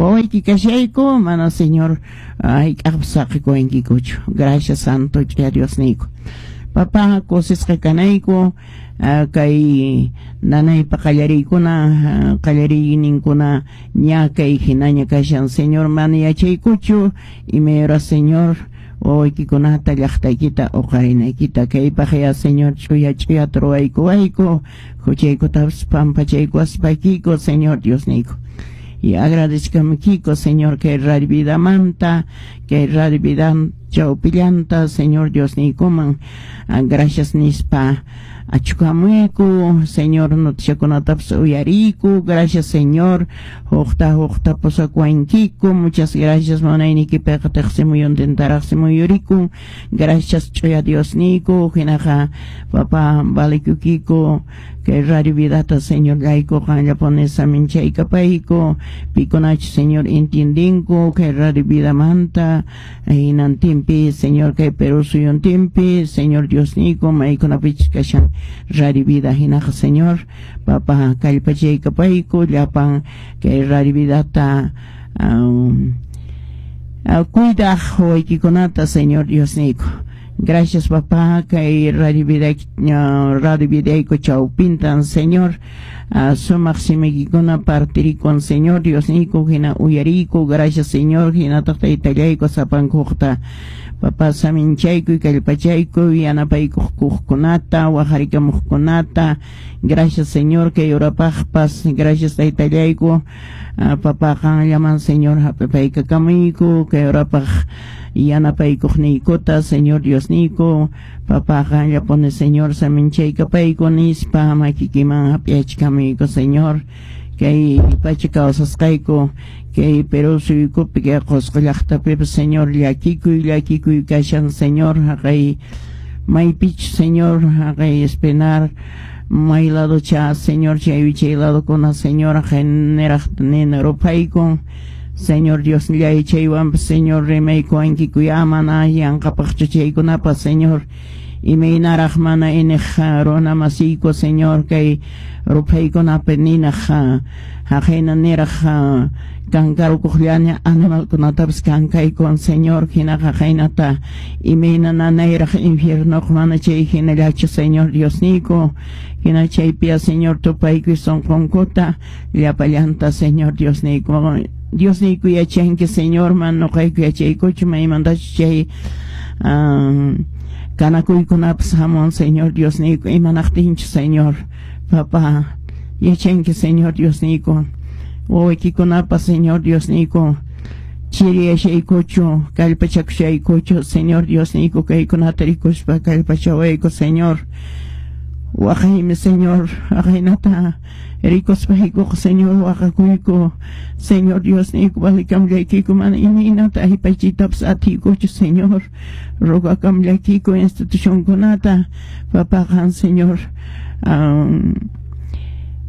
Wawayki kashayku, mana Señor hayk'aqpas saqikuwankikuchu. Gracias Santo ch'uya Diosniyku. Papá, kusisqa kanayku, kay nanaypa qallariykuna, qallariyninkuna ña kay hinaña kashan, Señor, mana yachaykuchu imay hora, Señor, wawaykikunata llaqtaykita uqarinaykita. Kaypaq ya, Señor, ch'uya ch'uyata ruwaykuwayku, huchaykutapas pampachaykuwaspaykiku, Señor Diosniyku. Y agradezcamikiko, Señor, kay Radio Vidamanta, kay Radio Vida chawpillanta, Señor Diosniykuman, gracias nispa achukamuyku, Señor, noticiakunatapas uyariyku. Gracias, Señor, huqta huqta pusakuwankiku. Muchas gracias, munaynikipiqa tiqsimuyuntintaraqsi muyurikun. Gracias, ch'uya Diosniyku. Hinaqa, papá, valikukiku kay Radio Vidata, Señor, llayku qanllapuni saminchaykapayku, pikunachu, Señor, entiendinku kay Radio Vidamanta hinantinpi, Señor, kay Perú suyuntinpi, Señor Diosniyku, maykunapichus kashan Radio Vida. Hinaqa, Señor, papá, kallpachaykapayku llapan kay Radio Vidata cuidaq wawaykikunata, Señor Diosniyku. Gracias, papá, kay Radio Vida, Radio Vidayku chawpintan, Señor, sumaq simiykikuna partirikun, Señor Diosniyku, hina uyariyku. Gracias, Señor. Hinataq taytallayku, sapankuqta, papá, saminchaykuy, kallpachaykuy, yanapaykuqkunata, waqarikamuqkunata. Gracias, Señor, kay urapaqpas. Gracias, taytallayku. Papá, qanllaman, Señor, hap'ipaykakamuyku kay urapaq yanapaykuqniykuta, Señor Diosniyku. Papá, qanllapuni, Señor, saminchaykapayku nispa makikiman hap'iyachkamuyku, Señor. Kay pacha kawsasqayku kay Perú suyukupi, kay Qusqu llaqtapipas, Señor, llakikuy llakikuy kashan, Señor. Haqay maypichu, Señor, haqay Espinar may ladocha, Señor, chay wichay ladokuna, Señor, haqay niraq nina ruphaykun. Señor Diosllay, chaywanpas, Señor, rimaykuwankikuya, mana yanqapaqchu chaykunapas, Señor. Imaynaraq mana iniq runa masiyku, Señor, kay ruphaykunapi ninaq haqayna niraq kankarukuqllaña animalkunatapas kankaykun, Señor. Hinaqa haynata imayna nanayraq infiernoq, mana chay hinallachu, Señor Diosniyku. Hina chaypiya, Señor, tupaykuy sunqunkuta llapallanta, Señor Diosniyku. Diosniyku, yachanki, Señor, mana nuqayku yachaykuchu maymantachu chay kanakuykunapas hamun, Señor Diosniyku. Imanaqtinchu, Señor, papá, yachanki, Señor Diosniyku. Wawaykikunapas, Señor Diosniyku, chiriyashaykuchu, kallpachakushaykuchu, Señor Diosniyku? Kaykunata rikuspa kallpachawayku, Señor. Waqaymi, Señor, aqaynata rikuspaykuqa, Señor, waqakuyku. Señor Diosniyku, valikamllaykiku, mana imaynata aypachiytapas atiykuchu, Señor. Rogakamllaykiku institucionkunata, papá, qan, Señor,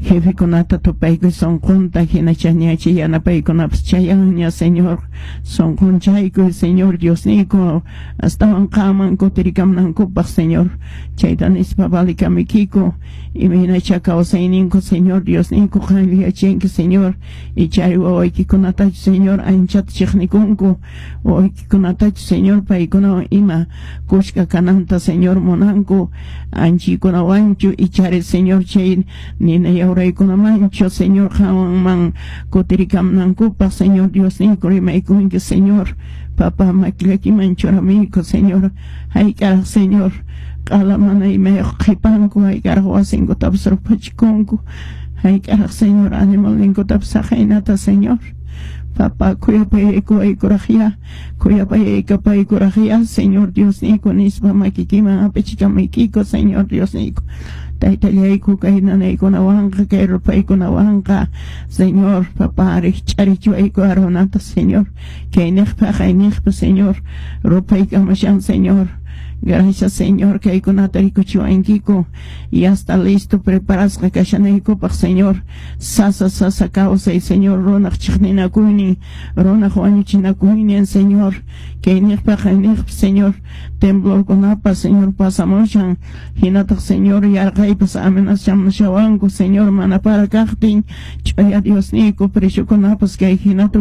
jefekunata tupaykuy sunqunta. Hina chaniachi yanapaykunapas chayanña, Señor. Sunqunchaykuy, Señor Diosniyku, astawan qaman kutirikamunankupaq, Señor. Chayta nispa valikamuykiku. Imaynacha kawsayninku, Señor Diosniyku, qanlla yachanki, Señor. Ichari wawaykikunatachu, Señor, anchata chiqnikunku, wawaykikunatachu, Señor, paykunawan ima kushka kananta, Señor, munanku, anchikunawanchu, ichari, Señor, chay nina yawraykunamanchu, Señor, qanman kutirikamunankupaq, Señor Diosniyku, rimaykunki, Señor. Papá, makillakiman churamuyku, Señor. Hayk'araq, Señor, q'ala mana imayuq qhipanku? Hayk'araq wasinkutapas ruphachikunku? Hayk'araq, Señor, animalninkutapas saqaynata, Señor? Papá, khuyapayaykuwaykuraqya, khuyapayaykapaykuraqiya, Señor Diosniyku, nispa makikiman hap'ichikamuykiku, Señor Diosniyku. Taytallayku, kay nanaykunawanqa, kay rupaykunawanqa, Señor, papá, rikch'arichiwayku arunata, Señor. Kayniqpa haqayniqpa, Señor, rupaykamushan, Señor. Gracias, Señor, kaykunata rikuchiwankiku. Ya está listo, preparasqa kashanaykupaq, Señor. Sasa sasa kawsay, Señor, runaq chiqninakuynin, runaq wañuchinakuynin, Señor. Kayniqpa haqayniqpa, Señor, temblorkunapas, Señor, pasamushan. Hinataq, Señor, yarqaypas amenazamushawanku, Señor, mana para kaqtin. Ch'uya Diosniyku, preciokunapas kay hinata.